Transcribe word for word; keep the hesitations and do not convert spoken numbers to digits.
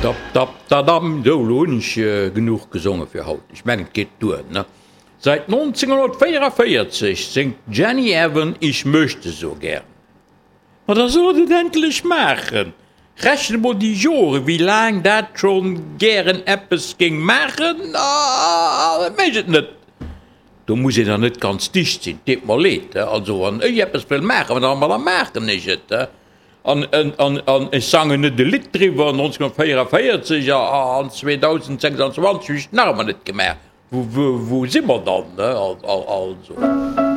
Dap, dap, dadam. Sou, elo hunn ech genuch gesonge fir haut. Ech mengen, et geet duer, ne? Seit neunzehnhundertvéierundvierzeg séngt d'Jenny Evan Ich möchte so gern. Ma da soll et et endlech maachen! Rechent emol déi Joren, wéi laang dat scho gären eppes géing maachen, an et mécht et net. Do muss een dann net ganz dicht sinn, deet mer leed. Also wann ech eppes wëll maachen, ma da maachen ech et. An ech sangen net e Lidd driwwer, neunzehnhundertvéierundvierzeg an zweedausendsechsundzwanzeg hunn ech et nach ëmmer net gemaach. Wou si mer dann? Also.